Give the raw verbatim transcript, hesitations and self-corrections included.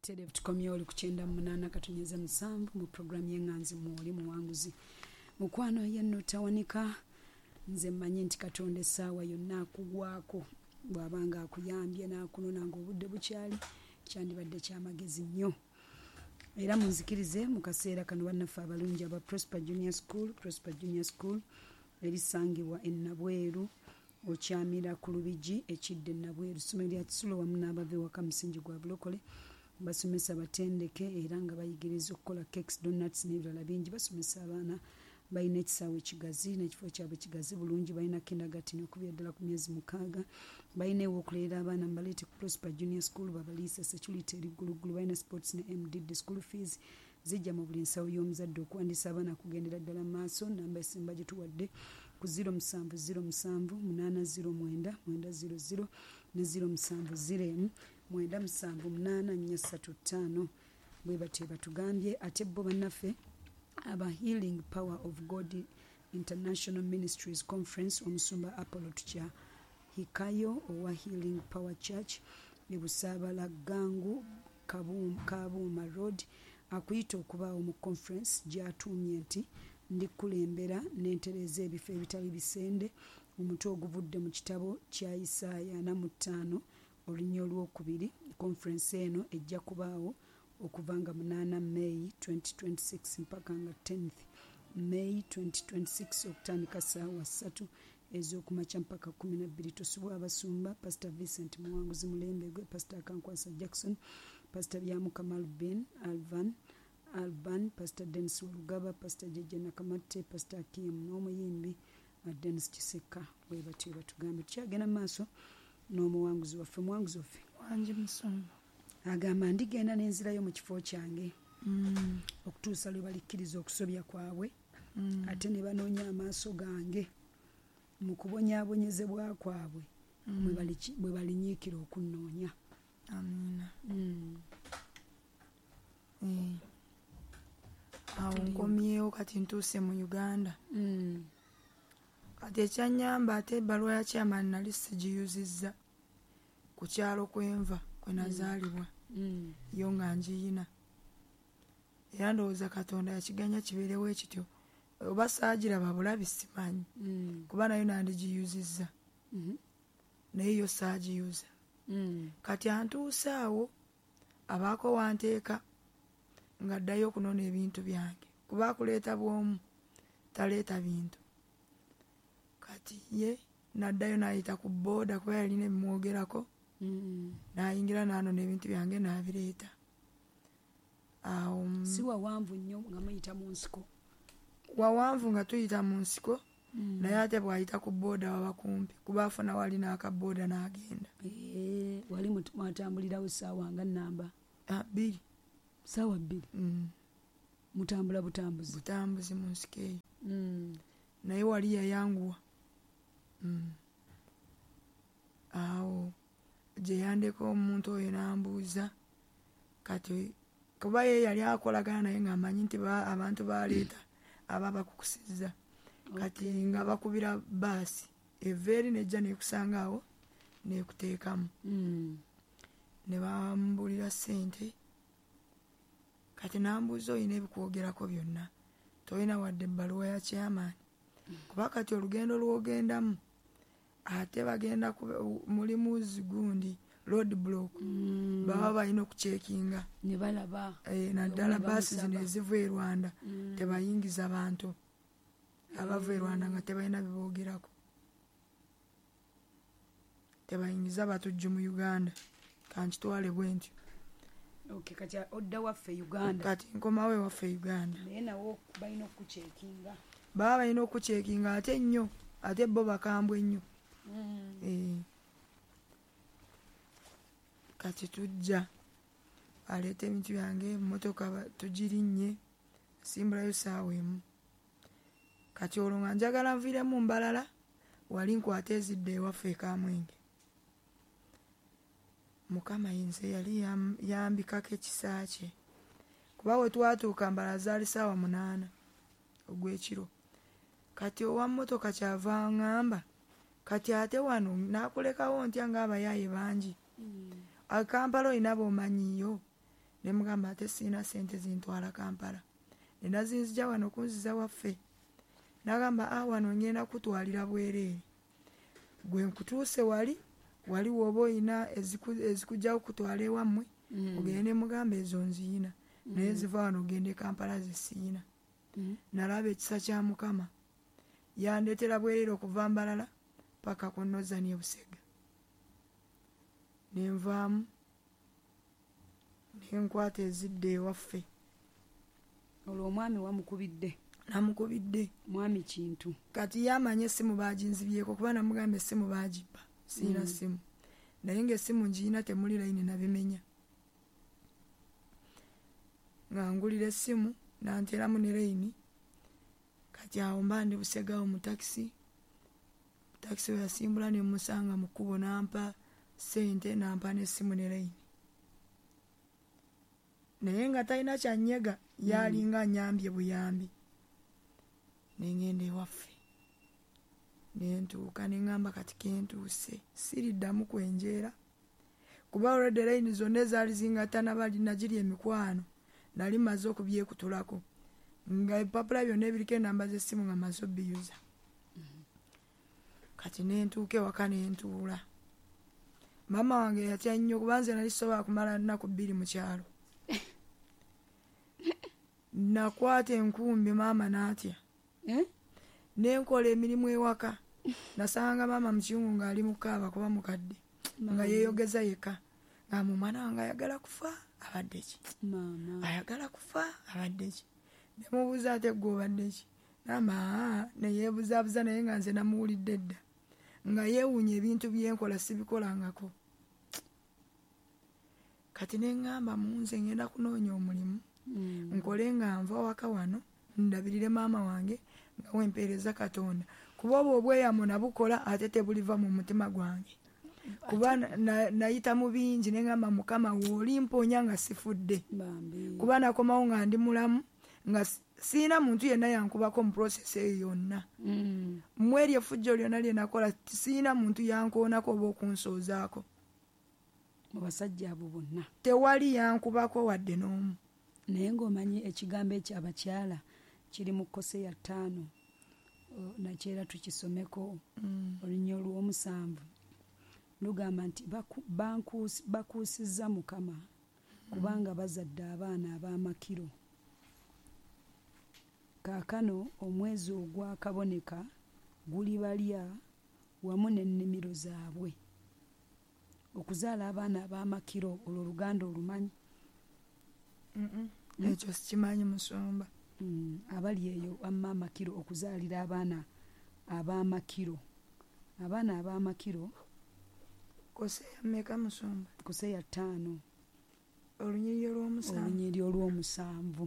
Tukomyewo oli ku kyenda mu munaana katonyeze musanvu mu puroguramu y'eŋŋanzi mwoli muwanguzi. Mukwano yenno tawanika, nze mmanyi nti Katonda essaawa yonna akugwako, bw'abanga akuyambye n'akunona ng'obudde bukyali, kyandibadde kyamagezi nnyo. Era munzikirize mu kaseera kano bannaffe abalungi aba Prosper Junior School, Prosper Junior School erisangibwa e Nabweru, okyamira ku Lubigi ekidde Nabweru, ssomero lya Kisulo wamu n'abava ewaka musingi gwa bulokole, basomesa batendeke era nga bayigiriza okukola cakes, donuts n'ebirala bingi. Basomesa abaana, balina ekisaawe kigazi n'ekifo kyabwe kigazi bulungi, balina kindergarten okubira ddala ku myezi mukaaga, balina ew'okulerera abaana, mubaleete ku Prosper Junior School babaliise, security eri gguluggulu, balina sports ne M D D, school fees zijja mu buli nsawo y'omuzadde. Okuwandiisa abaana kugendera ddala mu maaso, namba esemba gye tuwadde ku zero musanvu zero musanvu munaana zero mwenda mwenda zero zero ne zero musanvu zero emu mwenda musanvu munaana nnya ssatu ttaano. Bwe batyo batugambye. Ate bo bannaffe aba Healing Power of God International Ministries Conference, omusumba Apollo Tukya Hikayo owa Healing Power Church e Busaabala Gangu Kabuuma Road akuyita okubaawo mu conference gy'atuumye nti ndikulembera n'entereeza ebifo ebitali bisende, omutwe oguvudde mu kitabo kya Isaaya ana mu ttaano olunya olwokubiri. Conference eno ejja kubaawo okuva nga munaana May twenty twenty-six mpaka nga tenth May twenty twenty-six okutandika ssaawa ssatu ez'okumakya mpaka kkumi na bbiri. Tosubwa abasumba Pastor Vincent Muwanguzi Mulembegwe, Pastor Kankwasa Jackson, Pastor Byamukama Albin Alvan Alban, Pastor Dennis Walugaba, Pastor Jeje Nakamatte, Pastor Kim n'omuyimbi Dennis Kiseka. Bwe batyo batugambe. Tukyagenda mu maaso n'omuwanguzi waffe. Muwanguzi waffe wangi musumba agamba ndigenda n'enzirayo mu kifo kyange mm. okutuusa lwe balikkiriza okusobya kwabwe mm. ate ne banoonya amaaso gange mu kubonyaabonyezebwa kwabwe mm. bwe balinyiikira okunnoonya. Amiina. Mm. Eh. Awo nkomyewo kati ntuuse mu Uganda. Mm. Kati ekyannyamba ate ebbaluwa ya chairman nali sigiyuzizza ku kyalo kwenva kwe nazaalibwa. Mm. Yo nga ngiyina. Era ndowooza Katonda yakiganya kibeerewo ekityo. Oba saagiraba bulabi simanyi. Mm. Kuba nayo nandigiyuzizza. Mm -hmm. Naye yo saagiyuza. Mm. Kati antuuse awo abaako wanteeka nga ddayo okunona ebintu byange. Kuba akuleeta bw'omu taleeta bintu. Kati ye naddayo n'ayita ku booda kuba yalina ebimwogerako. Mm. N'ayingira n'anona ebintu byange n'abireeta. Awo si wawanvu nnyo nga muyita mu nsiko? Wawanvu nga tuyita mu nsiko. Mm. Naye ate bw'ayita ku booda waba kumpi kuba afuna wali n'akabooda n'agenda. Eh, wali mwatambulirawo ssaawa nga nnamba? Ah, bbiri. Ssaawa bbiri? Mm. Mutambula butambuzi? Butambuzi mu nsiko eyo. Mm. Naye wali yayanguwa. Mm. Awo gye yandeka omuntu oyo n'ambuuza kati kuba ye yali akolagana naye ng'amanyi nti abantu baleeta aba bakukusizza. Kati nga bakubira baasi eva eri nejja nekusanga awo nekuteekamu. Mm. Ne bambulira ssente. Kati n'ambuuza oyina ebikwogerako byonna, tolina wadde ebbaluwa ya chairman. Kuba kati olugendo lw'ogendamu ate bagenda mulimu zigundi road block. Mm. Baba balina okucekinga ne balaba e, naddala baasi zino eziva e Rwanda. Mm. Tebayingiza bantu abava e Rwanda nga tebalina biboogerako, tebayingiza batujju mu Uganda. Kankitwale bwe ntyo. Okay, kati odda waffe Uganda. Kati nkomawo ewaffe Uganda. Naye nawo balina okucekinga. Baba balina okucekinga ate nnyo, ate bo bakambwe nnyo. Mm. Eh. Kati tujja aleeta ebintu byange, emmotoka tugirinnye, simbulayo ssaawa emu. Kati olwo nga njagala nviiremu Mbalala, wali nkwate ezidde ewaffe e Kamwenge. Mukama nze yali yambikako ekisa kye. Kuba we twatuuka Mbalala zaali ssaawa munaana ogw'ekiro. Kati owa mmotoka kyava aŋŋamba kati ate wano naakulekawo ntya ng'abayaaye bangi. Mm. Akampala olina b'omanyiyo. Ne mugamba ate sirina ssente zintwala Kampala. Ne nazinzija wano kunziza waffe. N'agamba ah wano ngenda kutwalira bwereere. Gwe nkutuuse wali wali woba oyina ezikujja okutwala ewammwe mm. ogende mugamba ezo nziyina mm. naye ziva wano ogende Kampala zisiyina. Mm. Nalaba ekisa kya Mukama yandeetera bwereere okuva Mbalala paka ku Northern e Busega. Ne nvaamu ne nkwata ezidde ewaffe. Olwo omwami wamukubidde? Namukubidde. Mwami Kintu. Kati yamanya essimu baaginzibyeko kuba namugamba essimu baagibba. Sirina mm. simu. Naye ng'essimu ngiyina temuli layini nabimenya. Nga ngulira essimu nanteramu ne layini. Kati awo mba ndi Busega awo mu takisi. Takisi we yasimbula ne mmusanga mu kkubo n'ampa ssente n'ampa n'essimu ne layini. Naye nga talina kyannyega yalinga annyambye buyambi. Ne ngenda ewaffe. Ne ntuuka ne ŋŋamba kati kentuuse siriddamu kwenjeera kuba already layini zonna ezaali zingatta bali nagiri emikwano nali mmaze okubyekutulako nga ebipapula byonna ebiriko ennamba z'essimu nga mmaze obbiyuza. Kati ne ntuuka ewaka ne ntuula. Maama wange yatya nnyo kuba nze nali sisobola kumala nnaku bbiri mu kyalo. Nakwata enkumbi maama n'atya. Eh? Ne nkola emirimu ewaka. Nasanga maama mu kiyungu ng'ali mu kaaba kuba mukadde nga yeeyogeza yekka. Nga omwana wange ayagala kufa abadde ki? Ayagala kufa abadde ki? Ne mubuuza ate ggwe obadde ki? N'agamba aa ne yeebuzaabuza naye nga nze namuwulidde dda. Nga yeewuunya ebintu bye nkola sibikolangako. Kati ne ŋŋamba mu nze ngenda kunoonya omulimu nkole nga nva waka wano ndabirire maama wange nga wempeereza Katonda. Kuba obwo obweyamo nabukola ate tebuliva mu mutima gwange. Kuba nayita mu bingi ne ŋŋamba Mukama w'oli mponya nga sifudde. Kuba nakomawo nga ndi mulamu nga sirina muntu yenna yankubako mu process eyo yonna. Mu eryo effujjo lyonna lye nakola sirina muntu yankoonako oba okunsoozaako. Mu basajja abo bonna tewali yankubako wadde n'omu. Naye ng'omanyi ekigambo ekyo abakyala kiri mu Koseya ttaano nakyera tukisomeko olunya olw'omusanvu lugamba nti bakuusizza Mukama kubanga bazadde abaana ab'amakiro. Kaakano omwezi ogwakaboneka gulibalya wamu n'ennimiro zaabwe. Okuzaala abaana ab'amakiro olwo oluganda olumanyi? Ekyo sikimanyi musumba. Mm, abali eyo amma amakiro okuzaalira abaana ab'amakiro. Abaana ab'amakiro. Koseya mmeka musumba? Koseya ttaano. Olunyiriri olw'omusanvu. Olunyiriri olw'omusanvu.